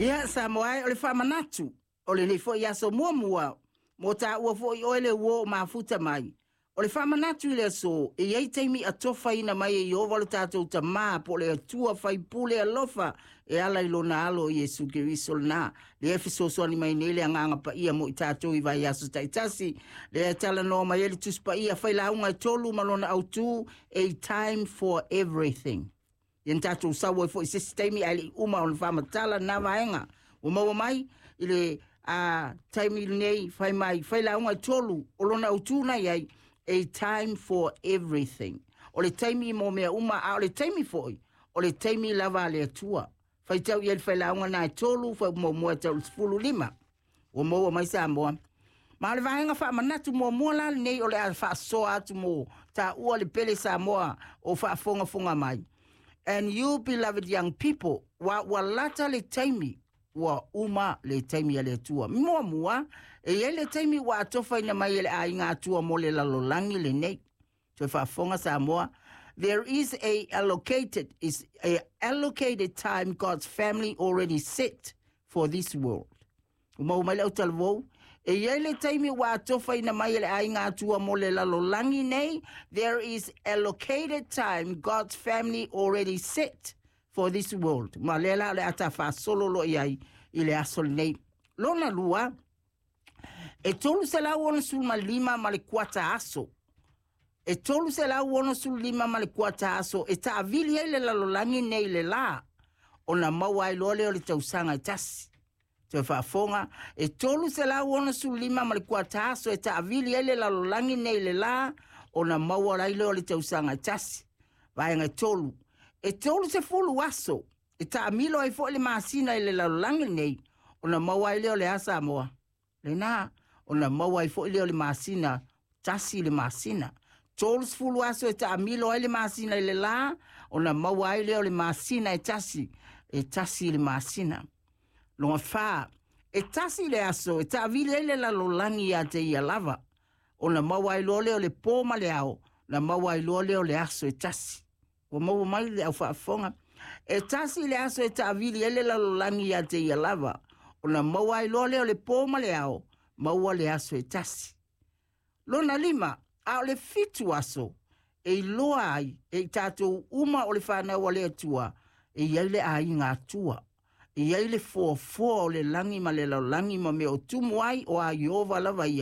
Ia, Samoa e, o le faamanatu o lenei foi aso muamua, mo taua foi oe le uo o mafuta mai. O le faamanatu i le aso, e i ai taimi atofaina mai e Ieova lo tatou Tamā po o le Atua faipule alofa e ala i lona Alo o Iesu Keriso lena, lea e fesoasoani mai nei le Agaga Paia mo i tatou i vaiaso taitasi, lea e talanoa mai ai le Tusi Paia Failauga e 3 ma lona autu, A Time for Everything. Ia na tatou sau ai foi i se isi taimi ae le i uma ona faamatala lena vaega. Ua maua mai i le taimi lenei fai mai Failauga e 3 o lona autu na i ai, A Time for Everything. O le taimi mo mea uma, a o le taimi foi, o le taimi lava a le Atua. Faitau i ai le failauga na e 3, fai muamua e tau i le 15. Ua maua mai Samoa. Ma o le vaega faamanatu muamua la lenei o le a faasoa atu mo taua le pele Samoa o faafogafoga mai. And you beloved young people, ua lata le taimi, ua uma le taimi a le Atua. Muamua, e i ai le taimi ua atofaina mai e le aiga Atua mo le lalolagi lenei. Toe faafofoga Samoa, there is a allocated, is a allocated time God's family already set for this world. Ua maua mai le autalavou, e i ai le taimi ua atofaina mai e le aiga Atua mo le lalolagi nei, there is allocated time God's family already set for this world. Ma lea la o le ata faasolo lo i ai i le aso lenei. Lona lua, e 365 ma le kuata aso. E 365 ma le kuata aso e taavili ai le lalolagi nei le la, ona maua ai loa lea o le tausaga e tasi. Toe faafofoga, e 365 ma le kuata aso e taavili ai le lalolagi nei le la, ona maua ai lea o le tausaga e tasi. Vaega e 3. E 30 aso e taamilo ai foi le masina i le lalolagi nei, ona maua ai lea o le a Samoa. Lena, ona maua ai foi lea o le masina, tasi le masina. 30 aso e taamilo ai le masina i le la, ona maua ai lea o le masina e tasi, e tasi le masina. Lona 4, e tasi le aso e taavili ai le lalolagi ia te ia lava, ona maua ai loa lea o le pō ma le ao, na maua ai loa lea o le aso e tasi. Ua maua mai le au faafofoga. E tasi le aso e taavili ai le lalolagi ia te ia lava, ona maua ai loa lea o le pō ma le ao, maua le aso e tasi. Lona 5, a o le 7 aso, e iloa ai e i tatou uma o le whanau a le Atua, e i ai le aiga Atua, e i ai le foafoa o le lagi ma le lalolagi ma mea o tumu ai o a Ieova lava ia.